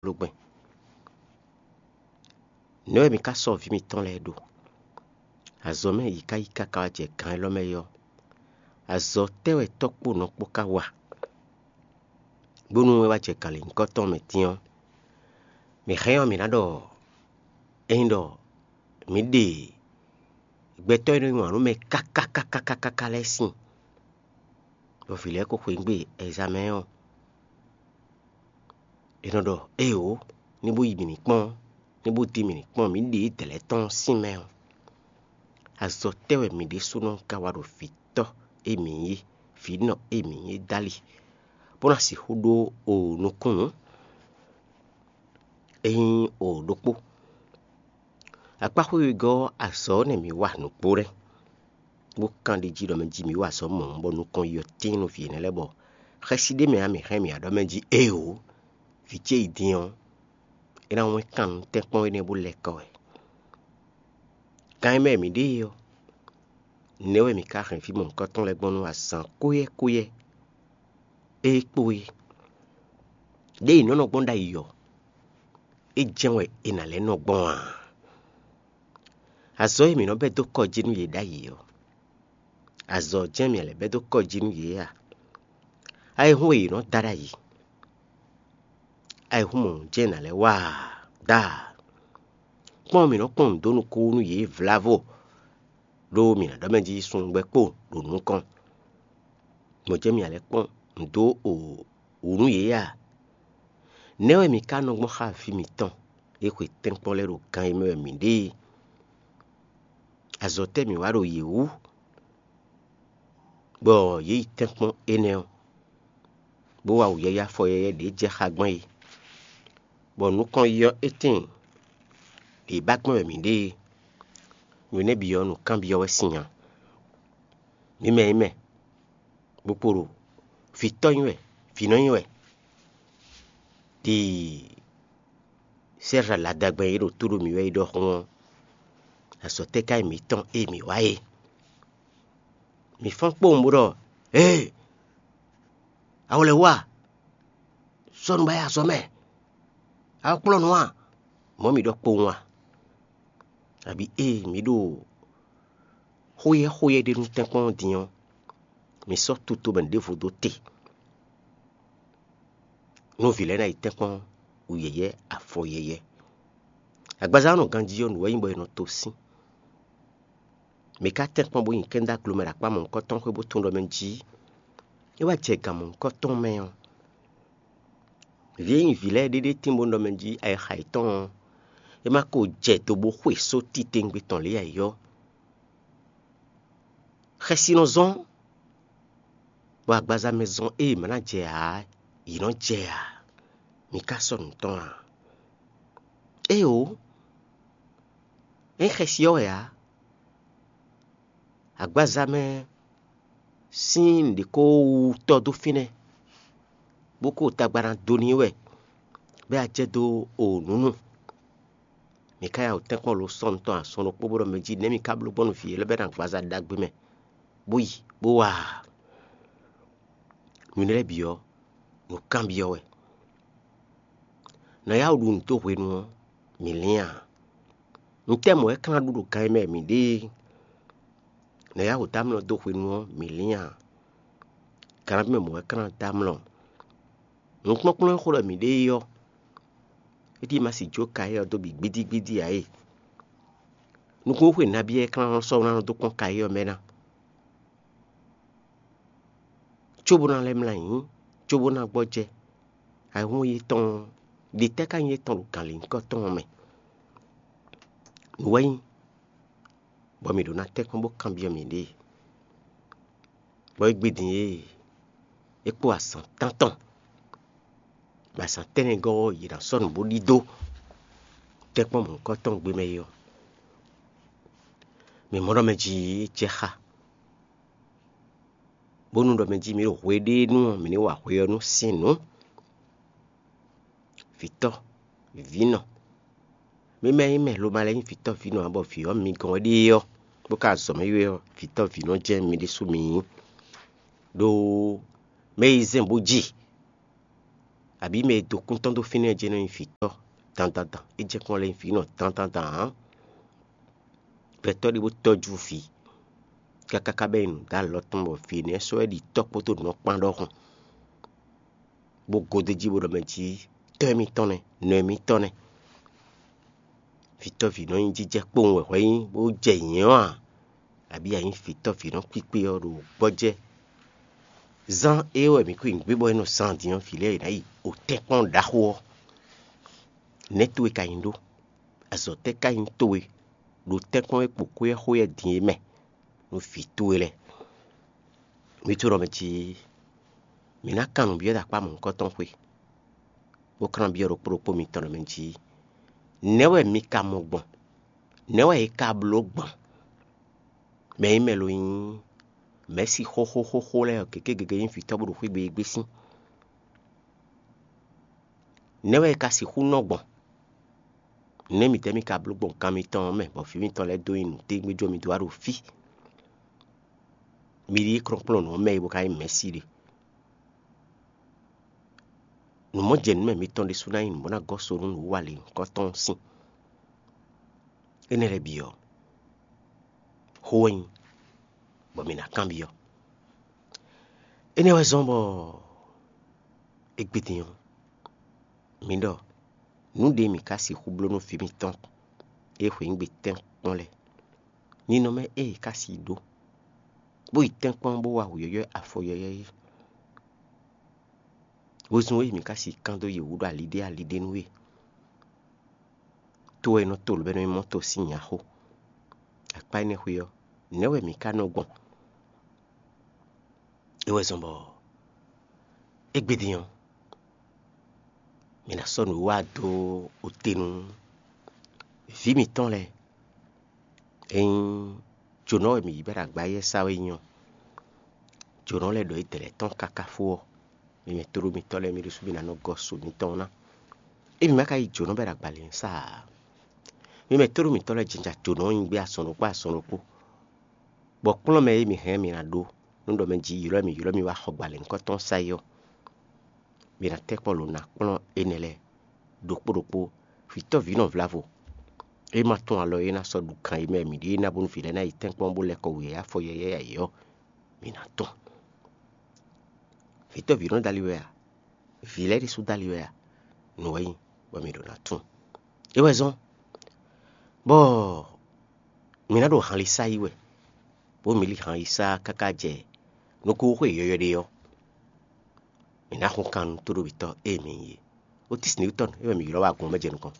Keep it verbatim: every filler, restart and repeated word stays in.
lógbɛ́n. Nɛ̌ wɛ mi ka sɔ́ vǐ mitɔn lɛ́ɛ ɖo? Azɔ̌ mɛ yě ká yi káká wá jɛ gǎn élɔ́ mɛ é ɔ́, azɔ̌ tɛ́ wɛ tɔ́ kpó nɔ kpó ka wa, bónú é wá jɛ gǎnlěnyíkɔ tɔn mɛ din ɔ́, mǐ hɛn ɔ́, mǐ ná ɖɔ ényí ɖɔ mǐ ɖe gbɛtɔ́ e nɔ nyi wǎn nú mɛ káká káká káká lɛ́ɛ sín, bɔ vǐ lɛ́ɛ ko xweyǐgbe ɛzamɛ ɔ́, è nɔ ɖɔ éeǒ, ní bó yi mǐ ní kpɔ́n, ní bó dín mǐ ní kpɔ́n, mǐ ɖe dɛ̌lɛ́ tɔn sín mɛ ɔ́, azɔ̌ tɛ́ wɛ mǐ ɖésúnɔ ka wa ɖo vǐtɔ́ e mǐ nyí, vǐnɔ e mǐ nyí dali, bó ná sixú ɖó o nukúnnú? É nyí o ɖokpó. Akpáxwé wegɔ́ ɔ́, azɔ̌ ɔ́ nɛ́ mǐ wa nǔgbó nɛ́, bó kán ɖi jí ɖɔ mɛ jí mǐ wa azɔ̌ mɔ̌ bɔ nukɔn yi ɔ́ tíin nú vǐ énɛ́ lɛ́ɛ, bɔ xɛsi ɖé mɛ ǎ mǐ hɛn mǐ wá ɖɔ mɛ jí éeǒ, vǐ ce yi din ɔ́, é ná wɛ́n kan nú tɛ́nkpɔ́n énɛ́ bó lɛ́ kɔ wɛ. Kan e mɛ mǐ ɖe é ɔ́, nɛ̌ wɛ mǐ ka hɛn fí mɔ̌hunkɔtɔn lɛ́ɛ gbɔn nú azǎn kóyɛ́ kóyɛ́ e kpo é? Ɖěe è nɔ́ nɔ gbɔn ɖ'ayǐ ɔ́, é jɛ́n wɛ è nǎ lɛ́ nɔ gbɔn a? Azɔ̌ e mǐ nɔ bɛ́ dó kɔ jí nú yě ɖ'ayǐ ɔ́, azɔ̌ jɛ́n mǐ lɛ́ bɛ́ dó kɔ jí nú yě a? Ayihún e yě nɔ da ɖ'ayǐ, ayihún mɔ̌ jɛ́n è nǎ lɛ́ wa a? Daa! Kpɔ́n mǐ nɔ kpɔ́n nǔ dó nukún nú yě vlavo, ɖó mǐ ná ɖɔ mɛ jí sungbɛ́ kpo ɖo nukɔn. Mɔ̌ jɛ́n mǐ lɛ́ kpɔ́n nǔ dó wǔ nú yě a? Nɛ̌ wɛ mǐ ka nɔ gbɔn xá vǐ mǐtɔn e xwe tɛ́nkpɔ́n lɛ́ɛ ɖo gan e mɛ wɛ mǐ ɖe é? Azɔ̌ tɛ́ mǐ wa ɖo yě wú, bɔ yě yi tɛ́nkpɔ́n énɛ́ ɔ́, bó wa wǔyɛ́yɛ́ afɔ yɛ́yɛ́ ɖě jɛ xá gbɔn é, bɔ nukɔn yi ɔ́, é tíin ɖě ba gbɔn wɛ mǐ ɖe é? Nǔ énɛ́ bǐ ɔ́, nǔkanbyɔ́ wɛ sín nya. Mǐ mɛ e mɛ, bó kpo ɖo vǐtɔ́ nyí wɛ, vǐnɔ nyí wɛ, ɖi sɛ́ ladagbɛn e ɖo tó ɖo mǐ wɛ é ɖɔhun ɔ́, azɔ̌ tɛ́ ka nyí mǐtɔn e mǐ wa é? Mǐ fɔ́n kpowun bó ɖɔ: Ee, a wlɛ̌ wú a? Sɔ́ nǔ ba yi azɔ̌ mɛ, a wá kplɔ́n nǔ a? Mɔ̌ mǐ ɖɔ kpowun a? Abǐ ée mǐ ɖo xóyɛ́ xóyɛ́ ɖé nú tɛ́nkpɔ́n ɔ́ din ɔ́, mǐ sɔ́ tutomɛ ɖěvo dó te, nú vǐ lɛ́ɛ ná yi tɛ́nkpɔ́n wǔ yɛ́yɛ́, afɔ yɛ́yɛ́. Agbaza ɔ́ nɔ ganjí ɔ́, nǔ wɛ nyí bɔ è nɔ to sín. Mǐ ka tɛ́nkpɔ́n bó nyi kɛ́ndáglo mɛ ɖo akpá mɔ̌hunkɔtɔn xwé bó tunwun ɖɔ mɛ jí é wá jɛ gan mɔ̌hunkɔtɔn mɛ ɔ́, vǐ e nyí vǐ lɛ́ɛ ɖé ɖé tín bó nɔ mɛ jí ayixa yětɔn ɔ́, é má ko jɛ do bó xwe só titewungbe tɔn lě ǎ é ɔ́, xɛsi nɔ zɔ́n, bɔ agbaza mɛ zɔn ée mǎ ná jɛ ǎ, yě nɔ jɛ ǎ. Mǐ ka sɔ́ nǔ tɔn a? Éeǒ, é nyí xɛsi ɔ́ wɛ ǎ. Agbaza mɛ sín nǔɖé ko wú tɔ́ dó fínɛ́, bó ko tagba ná dó n'i wɛ, bɔ é wá jɛ dó o nǔ nu. Mǐ ka ya wǒ tɛ́nkpɔ́n lo sɔ́ nǔ tɔn asɔn ɖokpó bó ɖɔ mɛ jí nɛ̌ mǐ ka bló gbɔn nú vǐ élɔ́ bɔ é ná agbaza ɖagbe mɛ, bó yi, bó wa a? Nǔ énɛ́ lɛ́ɛ bǐ ɔ́, nǔ kanbyɔ́ wɛ. Nǎ yá wǔ ɖu nǔ dó hwenu ɔ́, mǐ lín a? Nǔtɛ́ mɔ̌ wɛ é ka ná ɖu ɖo gan e mɛ mǐ ɖe é? Nǎ yá wǔ dó amlɔ dó hwenu ɔ́, mǐ lín a? Ganabí mɛ mɔ̌ wɛ é ka ná dó amlɔ? Nǔkplɔ́nkplɔ́n e xo ɖɔ mǐ ɖe é ɔ́, é ɖíe ma sixú jó ka éyɛ́ ɔ́ dó bǐ gbídígbídí ǎ e. Nukúnxwe nabí wɛ é ka ná sɔ́ ná nɔ dó kpɔ́n ka éyɛ́ ɔ́ mɛ ná? Cóbó ná lɛ́ mlá ayǐ, cóbó ná gbɔjɛ́. Ayihún yětɔn ɔ́, ɖětɛ́ ka nyí étɔn ɖo gǎnlěnyíkɔ tɔn ɔ́ mɛ? Nǔ wɛ nyí, bɔ mǐ ɖó ná tɛ́nkpɔ́n bó kanbyɔ́ mǐɖée. Bɔ é gbe din e é kpó azǎn tántɔn, bɔ azǎn tɛ́nnɛgɔ́ ɔ́, yě ná sɔ́ nǔ bó ɖidó tɛ́nkpɔ́n mɔ̌hunkɔtɔn gbe mɛ é ɔ́, mǐ mɔ ɖɔ mɛ jí é jɛ xá, bónú ɖɔ mɛ jí mǐ ɖo hweɖéenu ɔ́, mǐ ní wa hwe ɔ́ nú sín nǔ. Vǐtɔ́, vǐnɔ, mi mɛ e nyí mɛ lomalɛ nyí vǐtɔ́ vǐnɔ ǎ, bɔ vǐ ɔ́ mi gɔ́n wɛ ɖe ɔ́, bó ka azɔ̌ mɛ ylɔ́ vǐtɔ́ vǐnɔ jɛ́n mi ɖésú mi nyí. Ɖó mɛ e zɛ́n bó ji, Abǐ mɛ e dó kún tɔn dó fínɛ́ ɔ́ jɛ́n nɔ nyí vǐtɔ́ dandandan, é jɛ kpɔ́n lɛ́ nyí vǐ nɔ dandandan ǎ. Gbɛtɔ́ ɖé bó tɔ́jú vǐ káká ká bɛ́ nyi nǔ dó alɔ tɔn bɔ vǐ énɛ́ sɔ́ wɛ ɖi tɔ́ kpódó nǔ ɔ́ kpán ɖɔhun, bó gɔ́ dó jí bó ɖɔ mɛ jí tɔ́ émítɔn nɛ́, nɔ émítɔn nɛ́. Vǐtɔ́ví nɔ nyí jijɛ kpowun wɛ hwɛ nyí bó jɛ nyɛ̌ ɔ́ a? Abǐ a nyí vǐtɔ́ví nɔ kpíkpé ɔ́ ɖo gbɔjɛ́? Zán é wɛ mǐ kú nyi gbé bɔ é nɔ zán din ɔ́, vǐ lɛ́ɛ yě ná yi o tɛ́nkpɔ́n ɖaxó ɔ́. Nɛ̌ towe ka nyí ɖó? Azɔ̌ tɛ́ ka nyí towe ɖo tɛ́nkpɔ́n e kpo xwé ɔ́ xwé ɔ́ din é mɛ nú vǐ towe lɛ́ɛ? Mi tunwun ɖɔ mɛ jí mǐ ná kan nǔ byɔ́ ɖo akpá mɔ̌hunkɔtɔn xwé, bó kan byɔ́ ɖokpó ɖokpó mitɔn ɖɔ mɛ jí: Nɛ̌ wɛ mi ka mɔ gbɔn? Nɛ̌ wɛ è ka bló gbɔn? Mɛ e mɛ lo nyí mɛ̌si xóxóxóxó lɛ́ɛ ɔ́, gěgé gěgé nyí vǐtɔ́ bó ɖo xwé gbe e gbé sín. Nɛ̌ wɛ è ka sixú nɔ gbɔn? Nɛ̌ mǐtɛ́ mi ka bló gbɔn kan mitɔn ɔ́ mɛ, bɔ vǐ mitɔn lɛ́ɛ dó nyi nǔtɛ́ngbéjó mi dó wá ɖo fí? Mi ɖíe kplɔ́nkplɔ́n nǔ ɔ́ mɛ e bó ka nyí mɛ̌si ɖe. Nǔmɔjɛnǔmɛ mitɔn ɖésú ná nyí nǔ bó ná gɔ́ so nú nǔwiwa lěhunkɔtɔn ɔ́ sín. Énɛ́ lɛ́ɛ bǐ ɔ́, xó wɛ nyí, bɔ mǐ ná kanbyɔ́. Énɛ́ wɛ zɔ́n bɔ égbé din ɔ́, mi ɖɔ nǔ ɖě mǐ ka sixú bló nú vǐ mitɔn e hweyǐngbe tɛ́nkpɔ́n lɛ́ɛ. Ninɔmɛ ée è ka si ɖó, bó yi tɛ́nkpɔ́n bó wa wǔyɔ́yɔ́ afɔ yɔ́yɔ́ é, wezun e mǐ ka si kán dó yě wú ɖo ali ɖé ali ɖé nú é. To wɛ è nɔ to lǒ bɔ é nɔ nyí mɔ́ to sín nyaxó. Akpá énɛ́ xwé ɔ́, nɛ̌ wɛ mǐ ka nɔ gbɔn? É wɛ zɔ́n bɔ égbé din ɔ́, mǐ ná sɔ́ nǔwiwa dó ote nú vǐ mǐtɔn lɛ́ɛ. Ényí jǒnɔ wɛ mǐ yi bɔ è ɖo agbáyɛ́ sá wɛ nyí ɔ́, jǒnɔ lɛ́ɛ ɖɔ yědɛɛ lɛ́ɛ tɔn káká fó ɔ́, mi mɛ tóɖó mitɔ́ lɛ́ɛ, mi ɖésú mi ná nɔ gɔ́ so mitɔn ná. Émi ma ka yí jǒnɔ bɔ è ɖo agbalě sa ǎ. Mi mɛ tóɖó mitɔ́ lɛ́ɛ jɛnjɛ jǒnɔ ɔ́ nyi gbé azɔn ɖokpó azɔn ɖokpó, bɔ kplɔ́n mɛ e mi hɛn mi ná ɖó nú ɖɔ mɛ jí ylɔ́ mi ylɔ́ mi wá xɔ gbalěnukɔ́tɔn sa é ɔ́, mi ná tɛ́ kpɔ́ lǒ ná kplɔ́n énɛ́ lɛ́ɛ ɖokpó ɖokpó. Vǐtɔ́ví nɔ vlavo, é ma tún alɔ e ná sɔ́ ɖu kan e mɛ mǐ ɖe ná bónú vǐ lɛ́ɛ ná yi tɛ́nkpɔ́n bó lɛ́ kɔ wǔyɛ́yɛ́ afɔ yɛ́yɛ́ ayǐ ɔ́, mi ná tún. Vǐtɔ́ví nɔ dali wɛ a? Vǐ lɛ́ɛ ɖésú dali wɛ a? Nǔ wɛ nyí, bɔ mi ɖo ná tún. É wɛ zɔ́n bɔ mi ná ɖo hanlisa yí wɛ, bó mi li han yi sá káká jɛ nukúnxwe yɔyɔ́ ɖé ɔ́, mǐ ná xo kan nú tóɖóbítɔ́ e mǐ nyí é. Otísnìwítɔ́n é wɛ mǐ ylɔ́ wá agun ɔ́ mɛ jɛ nukɔn.